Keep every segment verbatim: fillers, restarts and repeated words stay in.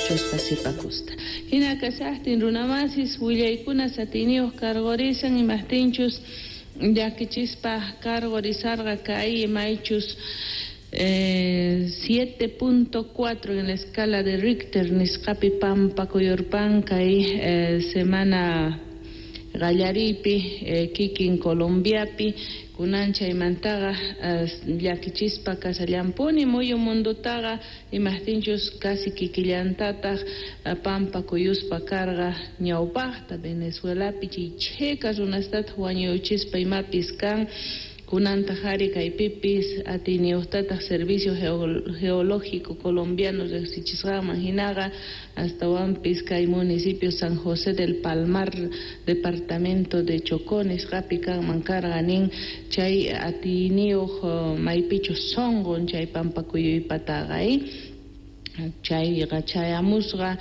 Qhichuspa sipakusta. Hina kashaqtin, runamasis, willaykuna atiyniyuq karqurisan, imaqtinchus llakichispa karqurisarqa kay maychus eh, siete punto cuatro en la escala de Richter nisqapi pampa kuyurpan kay eh, semana qallariypi eh, kikin Colombiapi. Kunan chaymantaqa eh, llakichispa kasallampuni muyu mundutaqa, imaqtinchus casi kikillantataq eh, pampa kuyuspa karqa ñawpaqta Venezuelapi, chay chhika runastataq wañuchispa imapis kan. Kunantaq ari kaypipis atiyniyuqtataq Servicio Geológico Colombiano riqsichisqanman hinaqa, astawanpis kay municipio San José del Palmar, departamento de Chocó nisqapi kanman karqa nin chay atiyniyuq maypichus sunqun chay pampakuyuypataqa. Chayqa chayamusqa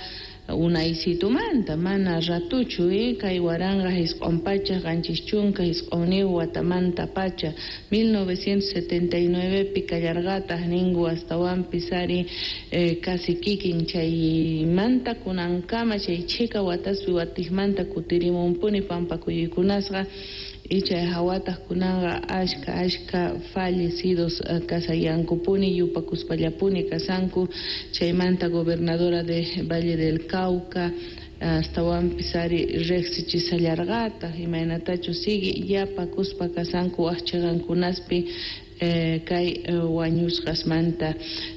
unaysitumanta, mana ratuchu, kay waranqa isq'un pachak qanchis chunka isq'unniyuq watamanta pacha, mil novecientos setenta y nueve pi kallarqataq ninku. Astawanpis ari eh, casi kikin chaymanta kunankama chay chhika wataspi watiqmanta kutirimunpuni pampakuyuykunasqa. Y chay hawataq kunanqa ashka ashka fallecidos eh, kasayankupuni, yupakuspallapuni kasanku. Chaymanta gobernadora de Valle del Cauca astawanpis ari riqsichisallarqataq imaynatachus sigue yapakuspa kasanku wak chiqankunaspi eh, kay eh, wañusqasmanta.